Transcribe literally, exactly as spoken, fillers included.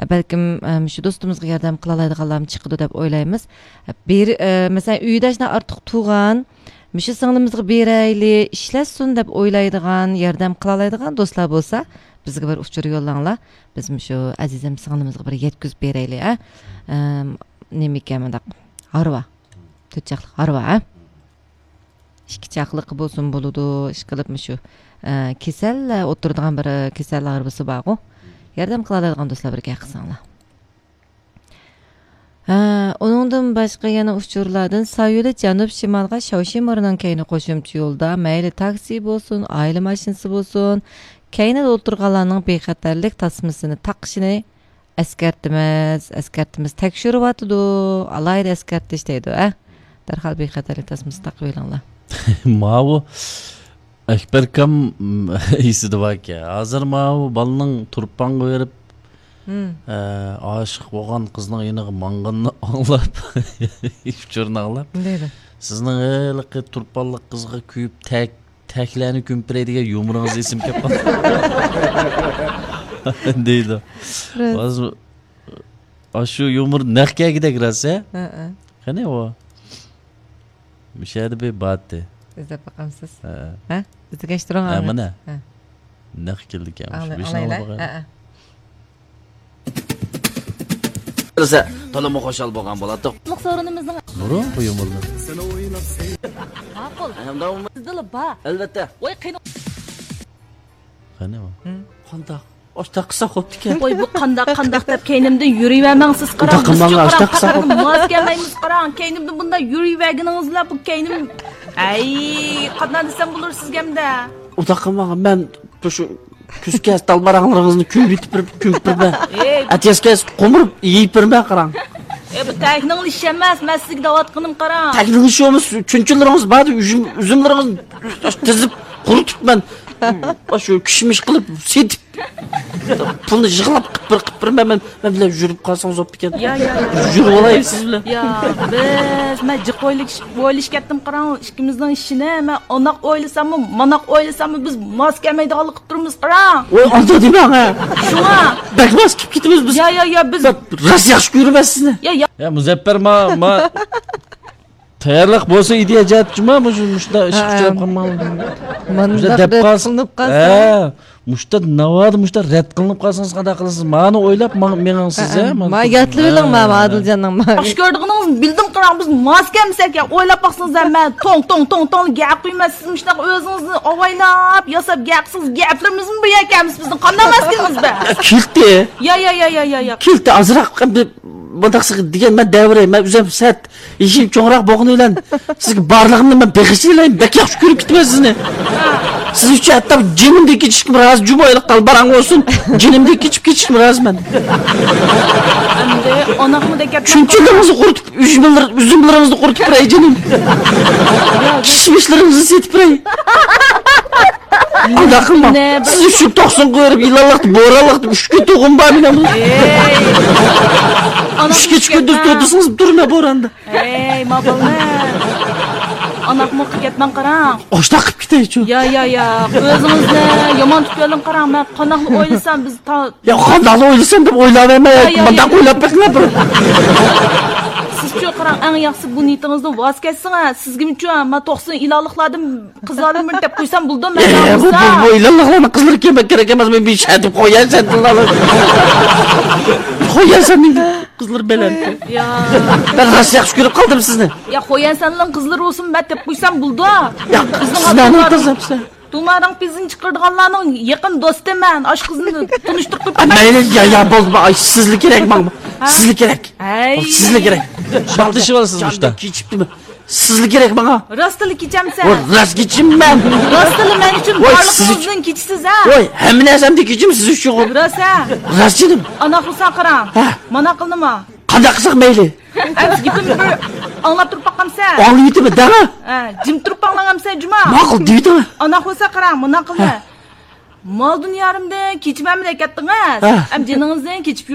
بەلكىم، ئە، مۇشۇ دوستىمىزغا ياردەم قىلالايدىغانلارمۇ چىقىدۇ دەپ ئويلايمىز. بىر، ئە، مەسىلەن، ئۆيدە شۇنداق ئارتۇق تۇغان، مۇشۇ سىڭلىمىزغا بېرەيلى، ئىشلەتسۇن دەپ ئويلايدىغان، ياردەم قىلالايدىغان دوستلار بولسا، بىزگە بىر ئۇچۇر يوللاڭلار. بىز مۇشۇ ئەزىزەم سىڭلىمىزغا بىر يەتكۈزۈپ بېرەيلى، ھە؟ ئەم، نېمىكەن مۇنداق؟ ھارۋا. تۆت چاقلىق ھارۋا، ھە؟ ئىككى چاقلىقى بولسىمۇ بولىدۇ، ئىشقىلىپ مۇشۇ، ئە، كېسەللەر ئولتۇرىدىغان بىر كېسەل ھارۋىسى بارغۇ. ياردەم قىلالايدىغان دوستلار بىر گەپ قىلساڭلار. ھە، ئۇنىڭدىن باشقا يەنە ئۇچۇرلاردىن سايولى جەنۇب شىمالغا شاۋشىمورنىڭ كەينى قوشۇمچە يولدا، مەيلى تاكسى بولسۇن، ئائىلە ماشىنىسى بولسۇن، كەينىدە ئولتۇرغانلارنىڭ بىخەتەرلىك تاسمىسىنى تاقىشىنى ئەسكەرتىمىز، ئەسكەرتىمىز، تەكشۈرۈۋاتىدۇ، ئالاھىدە ئەسكەرتىش دەيدۇ، ھە؟ دەرھال بىخەتەرلىك تاسمىسى تاقىۋېلىڭلار. ماۋۇ ئەكبەركام ئېسىدە باركەن. ھازىر ماۋۇ بالىنىڭ تۇرپانغا بېرىپ، ھە، ئاشىق بولغان قىزنىڭ يېنىغا ماڭغىنىنى ئاڭلاپ، ئۇچۇرنى ئاڭلاپ، دەيدۇ. سىزنىڭ ھېلىقى تۇرپانلىق قىزغا كۆيۈپ تەك تەكلەرنى كۆمۈپ بېرەي دېگەن يۇمۇرىڭىز ئېسىمگە كەپ قالدى. دەيدۇ. راست. ھازىر ئاشۇ يۇمۇر نەق كەلگۈدەك راست، ھە؟ ھەئە. قېنى ئۇ؟ مۇشۇ يەردە بىر بارتى. ئىزدەپ باقامسىز؟ ھەئە. ھە؟ ئىزدىگەچ تۇرۇڭ، ھە، ئاڭلاپ. مانا. ھە. نەق كېلىدىكەن. ئاڭلا-، ئاڭلايلى. ھە، ھە. بىلسە، تولىمۇ خۇشال بولغان بولاتتۇق. قۇتلۇق سورۇنىمىزنىڭ نۇرۇن قويۇمۇلدى. ماقۇل. ھەمدە سىزدىلا بار. ئەلۋەتتە. ۋاي، قېنى. قېنى ئۇ؟ قانداق؟ ئاشتاق قىلساق بوپتىكەن. ۋاي، بۇ قانداق، قانداق دەپ كەينىمدىن يۈرۈۋەرمەڭ سىز، قاراڭ. بىز قاراڭ، پەقەت ماس كەلمەيمىز، قاراڭ. كەينىمدىن بۇنداق يۈرۈۋەرگىنىڭىز بىلەن بۇ كەينىم، ئەي، قانداق دېسەم بولۇر سىزگە ئەمدى؟ ئۇنداق قىلماڭ، مەن شۇ كۈز كەلسە تالباراڭلىرىڭىزنى كۆمۈۋېتىپ، كۆمۈپ بېرىمەن. ئەتىياز كەلسە قومۇرۇپ يېيىپ بېرىمەن، قاراڭ. ئەي، بۇ تەكنىڭ ئىشى ئەمەس، مەن سىزگە دەۋاتقىنىم، قاراڭ. تەكنىڭ ئىشى ئەمەس، چۈنچىلىرىڭىز بار، ئۈزۈم، ئۈزۈملىرىڭىزنى تىزىپ قۇرۇتۇپ مەن شۇ كىشمىش قىلىپ سېتىپ، پۇلنى يىغلاپ قىپ بېرىمەن، مەن، مەن بىلەن يۈرۈپ قالسىڭىز بوپتىكەن. يا، يا، يا. يۈرۈپ ئالاي سىز بىلەن. يا، بىز، مەن جىق ئويلىشىپ كەتتىم، قاراڭ، ئىككىمىزنىڭ ئىشىنى. مەن ئانداق ئويلىساممۇ، مانداق ئويلىساممۇ، بىز ماس كەلمەيدىغانلىق قىلىپ تۇرىمىز، قاراڭ. ۋاي، ئانداق دېمەڭ، ھە. شۇڭا. بەك ماس كېلىپ كېتىمىز بىز. يا، يا، يا، بىز. بەك راست ياخشى كۆرىمەن سىزنى. يا، يا. يا، مۇزەپپەر، ما، ما. تەييارلىق بولسا ئىدىيە جەھەتتىچۇما، مۇشۇ، مۇشۇنداق ئىش ھە. كۈچەپ قالماڭ. مانداق دەپ رەت قالسا. قىلىنىپ قالسا. ھە، مۇشۇنداق ناۋادا مۇشۇنداق رەت قىلىنىپ قالسىڭىز قانداق قىلىسىز؟ مانى ئويلاپ ماڭ-، مېڭىڭ سىز، ھە، ھە، مانا ما شۇنداق. ياتلىۋېلىڭ، ھە. ما، ما ئادىلجاننىڭ ما. ياخشى كۆرىدىغىنىڭىزنى بىلدىم، قاراڭ، بىز ماس كەلمىسەك يا، ئويلاپ باقسىڭىز، ھە، مەن توڭ، توڭ، توڭ، توڭ گەپ قۇيمەن، سىز مۇشۇنداق ئۆزىڭىزنى ئاۋايلاپ ياساپ گەپ قىلسىڭىز، گەپلىرىمىزمۇ بىر يەر كەلمىسە بىزنىڭ قانداق ماس كېلىمىز بىز؟ كېلىتى. يا، يا، يا، يا، يا، يا. كېلىتى ئازراق بىر مۇنداق دېگەن مەن دەۋرەي، مەن ئۆزۈم سەت. يېشىم چوڭراق بولغىنى بىلەن سىزگە بارلىقىمنى مەن بېغىشلىۋېلەي، بەك ياخشى كۆرۈپ كېتىمەن سىزنى. سىز ئۈچۈن ھەتتا جېنىمدىن كېچىشكىمۇ رازى، جۇمۇ ئېلىق تالباراڭ بولسۇن، جېنىمدىن كېچىپ كېتىشكىمۇ رازى مەن. ئەمدى ئاناقمۇ دەپ گەپ شۇنچىلىرىڭىزنى قۇرۇتۇپ، ئۈزۈملىرىڭىزنى قۇرۇتۇپ بېرەي جېنىم. كىشمىشلىرىڭىزنى سېتىپ بېرەي. ئۇنداق قىلماڭ. سىز ئۈچۈن توقسۇن قويۇپ، يىلانلىقتا، بورانلىقتا ئۈچ كۈن تۇغۇم بار مېنىڭ. ئۈچ كېچە كۈندۈز تۇردۇرسىڭىز تۇرىمەن بوراندا. ھەي، ما بالىنى. ئاناقمۇ قىلىپ كەتمەڭ، قاراڭ. ئاشتاق قىلىپ كېتەيچۇ. يا، يا، يا. ئۆزىڭىزنى يامان تۇتۇۋېلىڭ، قاراڭ. مەن قانداقلا ئويلىسام، بىز تا-، يا، قانداقلا ئويلىسام دەپ ئويلاۋەرمەي، يا، يا، مۇنداق يا. ئويلاپ بېقىڭلار بىر. سىزچۇ، قاراڭ، ئەڭ ياخشىسى بۇ نىيىتىڭىزدىن ۋاز كەچسىڭىز، سىزگىمۇچۇ، ما توقسۇن ئىلانلىقلاردىن قىزلاردىن بىرنى دەپ قويسام بولىدۇ، مەن ئە، بۇ، بۇ، بۇ ئىلانلىقلارنىڭ قىزلىرى كېمەك كېرەك ئەمەس، مەن بىر ئىش ئېيتىپ قوياي سەن تىللارنى. قوياي سەن. قىزلار بەلەن. يا. مەن راست ياخشى كۆرۈپ قالدىم سىزنى. يا، خويەنسەننىڭ قىزلىرى بولسۇن، مەن دەپ قويسام بولىدۇ. يا، بىزنىڭ سىز نەنىڭ قىزى بىسە؟ تۇمارىڭ پىزىنى چىقىرىدىغانلارنىڭ يېقىن دوستى مەن. ئاشۇ قىزنى تونۇشتۇرۇپ قويۇپ. ئە، مەيلى، يا، يا، بولدى، ئاي، سىزلا كېرەك ماڭا. ھە؟ سىزلا كېرەك. ھەي. سىزلا كېرەك. ئىشتىشىۋالىسىز مۇشتا. كېچىپتىمەن. سىزلا كېرەك ماڭا. راستلا كېچەمسەن؟ ۋاي، راست كېچىمەن. راستلا مەن ئۈچۈن ۋاي، سىز بارلىقىڭىزدىن كېچىسىز، ھە؟ ۋاي، ھەممە نەرسەمدىن كېچىمەن سىز ئۈچۈن. راست، ھە؟ راست جېنىم. ئانا قىلسا قاراڭ. ھە. مانا قىلدىما؟ قانداق قىلساق مەيلى؟ ئەمسە گېپىمنى بىر ئاڭلاپ تۇرۇپ باقامسەن؟ ئاڭلىۋېتىمەن، دەڭە. ھە، جىم تۇرۇپ ئاڭلاڭامسەن، جۇما؟ ماقۇل، دېۋېتىڭە. ئانا قىلسا قاراڭ، مانا قىلدى. ھە. مال دۇنيامدىن كېچىمەنمۇ دەپ كەتتىڭىز. ھە. ئەم جېنىڭىزدىن كېچىپ